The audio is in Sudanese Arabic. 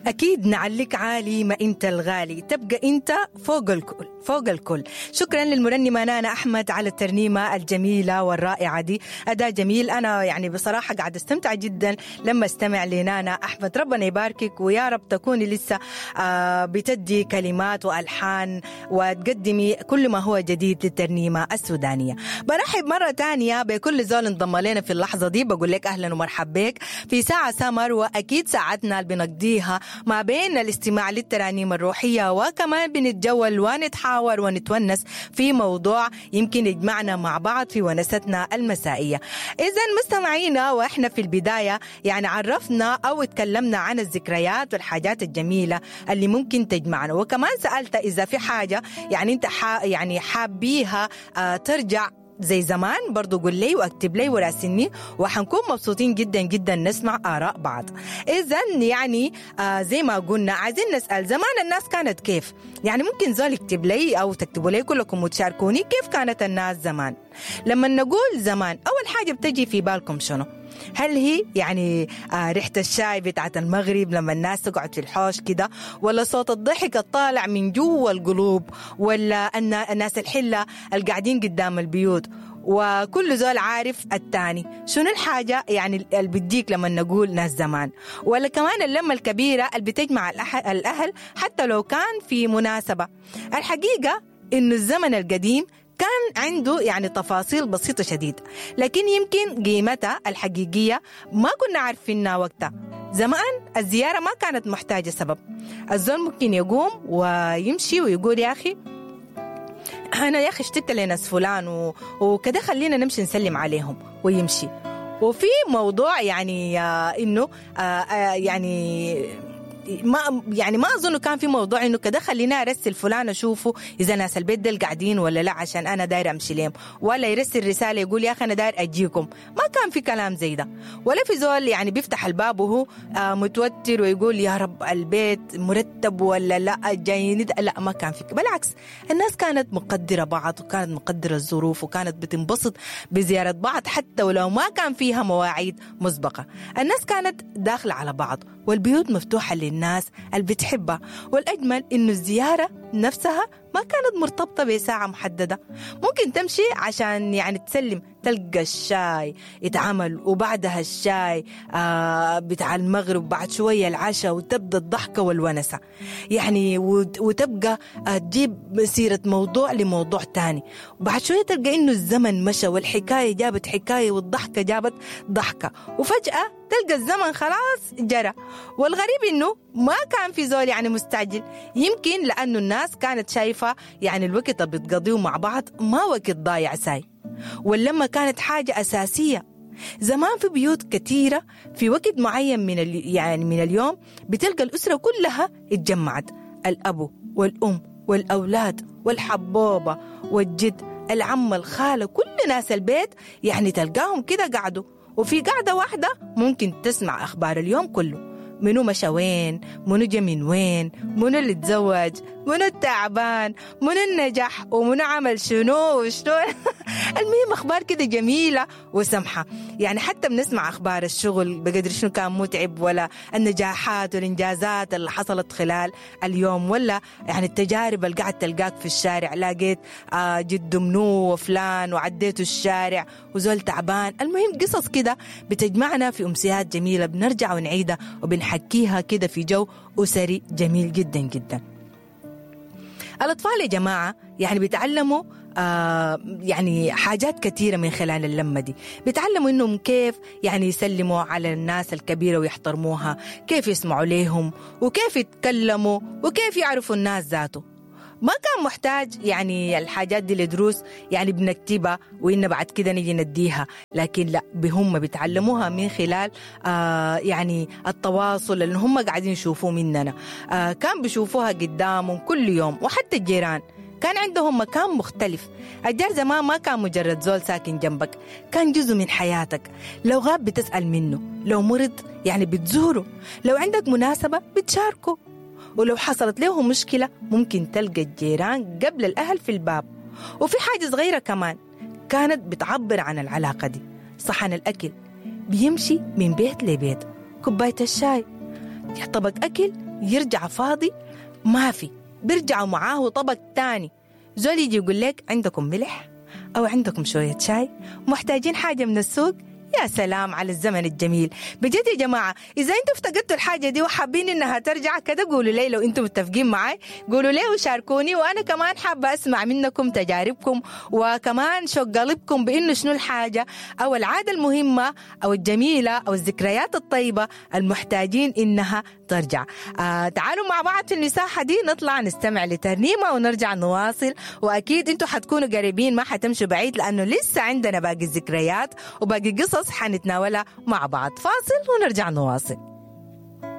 أكيد نعليك عالي ما أنت الغالي، تبقى أنت فوق الكل فوق الكل. شكرا للمرنمة نانا أحمد على الترنيمة الجميلة والرائعة دي، أداء جميل. أنا يعني بصراحة قاعد استمتع جدا لما استمع لنانا أحمد، ربنا يباركك ويا رب تكوني لسه بتدي كلمات وألحان وتقدمي كل ما هو جديد للترنيمة السودانية. برحب مرة تانية بكل زول انضم لنا في اللحظة دي، بقول لك أهلا ومرحبا بك في ساعة سمر، وأكيد ساعتنا اللي بنقضيها ما بين الاستماع للترانيم الروحية وكمان بنتجول ونتحاور ونتونس في موضوع يمكن يجمعنا مع بعض في ونستنا المسائية. إذا مستمعينا، وإحنا في البداية يعني عرفنا أو اتكلمنا عن الذكريات والحاجات الجميلة اللي ممكن تجمعنا، وكمان سألت إذا في حاجة يعني أنت يعني حابيها ترجع زي زمان، برضو قول لي واكتب لي وراسلني، وحنكون مبسوطين جدا جدا نسمع آراء بعض. إذا يعني زي ما قلنا عايزين نسأل زمان الناس كانت كيف، يعني ممكن زول يكتب لي أو تكتبوا لي كلكم وتشاركوني كيف كانت الناس زمان. لما نقول زمان أول حاجة بتجي في بالكم شنو؟ هل هي يعني ريحة الشاي بتاعت المغرب لما الناس تقعد في الحوش كده، ولا صوت الضحك الطالع من جوا القلوب، ولا الناس الحلة القاعدين قدام البيوت وكل زول عارف التاني؟ شنو الحاجة يعني اللي بتديك لما نقول ناس زمان؟ ولا كمان اللمة الكبيرة اللي بتجمع الأهل حتى لو كان في مناسبة. الحقيقة إنه الزمن القديم كان عنده يعني تفاصيل بسيطة شديد، لكن يمكن قيمتها الحقيقية ما كنا عارفينها وقتها. زمان الزيارة ما كانت محتاجة سبب، الزول ممكن يقوم ويمشي ويقول يا أخي أنا يا أخي اشتقت لناس فلان وكده، خلينا نمشي نسلم عليهم ويمشي. وفي موضوع يعني إنه يعني ما اظن كان في موضوع انه كده خلينا ارسل فلان اشوفه اذا ناس البيت ديل قاعدين ولا لا عشان انا داير امشي لهم، ولا يرسل رسالة يقول يا اخي انا داير اجيكم. ما كان في كلام زي ده، ولا في زول يعني بيفتح الباب وهو متوتر ويقول يا رب البيت مرتب ولا لا جايين، لا ما كان في. بالعكس الناس كانت مقدره بعض وكانت مقدره الظروف وكانت بتنبسط بزيارة بعض حتى ولو ما كان فيها مواعيد مسبقة. الناس كانت داخله على بعض والبيوت مفتوحة للناس اللي بتحبها، والأجمل إنه الزيارة نفسها ما كانت مرتبطة بساعة محددة. ممكن تمشي عشان يعني تسلم، تلقى الشاي يتعمل وبعدها الشاي بتاع المغرب، بعد شوية العشاء، وتبدأ الضحكة والونسة يعني، وتبقى تجيب سيرة موضوع لموضوع تاني، وبعد شوية تلقى إنه الزمن مشى والحكاية جابت حكاية والضحكة جابت ضحكة، وفجأة تلقى الزمن خلاص جرى. والغريب إنه ما كان في زول يعني مستعجل، يمكن لأنه الناس كانت شايفة يعني الوقت اللي بتقضيه مع بعض ما وقت ضايع ساي، واللمة كانت حاجة أساسية. زمان في بيوت كثيرة في وقت معين من يعني من اليوم بتلقى الأسرة كلها اتجمعت، الأب والأم والأولاد والحبوبة والجد، العم، الخالة، كل ناس البيت يعني تلقاهم كده قعدوا، وفي قعدة واحدة ممكن تسمع أخبار اليوم كله، منو مشى وين، منو جا من وين، منو اللي تزوج، منو التعبان، منو النجح، ومنو عمل شنو وشنو. المهم أخبار كده جميلة وسمحة، يعني حتى بنسمع أخبار الشغل بقدر شنو كان متعب، ولا النجاحات والإنجازات اللي حصلت خلال اليوم، ولا يعني التجارب اللي قاعد تلقاك في الشارع، لاقيت جد منو وفلان وعديته الشارع وزول تعبان. المهم قصص كده بتجمعنا في أمسيات جميلة بنرجع ونعيدها وبنحكيها كده في جو أسري جميل جدا جدا. الأطفال يا جماعة يعني بيتعلموا يعني حاجات كثيرة من خلال اللمة دي، بيتعلموا إنهم كيف يعني يسلموا على الناس الكبيرة ويحترموها، كيف يسمعوا ليهم، وكيف يتكلموا، وكيف يعرفوا الناس ذاته. ما كان محتاج يعني الحاجات دي لدروس يعني بنكتبها وإن بعد كده نيجي نديها، لكن لا، بهم بيتعلموها من خلال يعني التواصل اللي هم قاعدين يشوفوه مننا. كان بيشوفوها قدامهم كل يوم، وحتى الجيران كان عندهم مكان مختلف. الجار زمان ما كان مجرد زول ساكن جنبك، كان جزء من حياتك. لو غاب بتسأل منه، لو مرض يعني بتزوره، لو عندك مناسبة بتشاركه، ولو حصلت له مشكلة ممكن تلقى الجيران قبل الأهل في الباب. وفي حاجة صغيرة كمان كانت بتعبر عن العلاقة دي، صحن الأكل بيمشي من بيت لبيت، كوباية الشاي، طبق أكل يرجع فاضي ما في، بيرجعوا معاه طبق تاني. زول يجي يقول لك عندكم ملح أو عندكم شوية شاي، محتاجين حاجة من السوق. يا سلام على الزمن الجميل بجد يا جماعة. إذا أنتم افتقدتوا الحاجة دي وحابين إنها ترجع كده قولوا لي، لو أنتم متفقين معي قولوا لي وشاركوني، وأنا كمان حابة أسمع منكم تجاربكم وكمان شوق قلبكم بإنه شنو الحاجة أو العادة المهمة أو الجميلة أو الذكريات الطيبة المحتاجين إنها ترجع. تعالوا مع بعض في المساحة دي نطلع نستمع لترنيمة ونرجع نواصل، وأكيد أنتم حتكونوا قريبين ما حتمشوا بعيد لأنه لسه عندنا باقي الذكريات وباقي قصص حنتناولها مع بعض. فاصل ونرجع نواصل.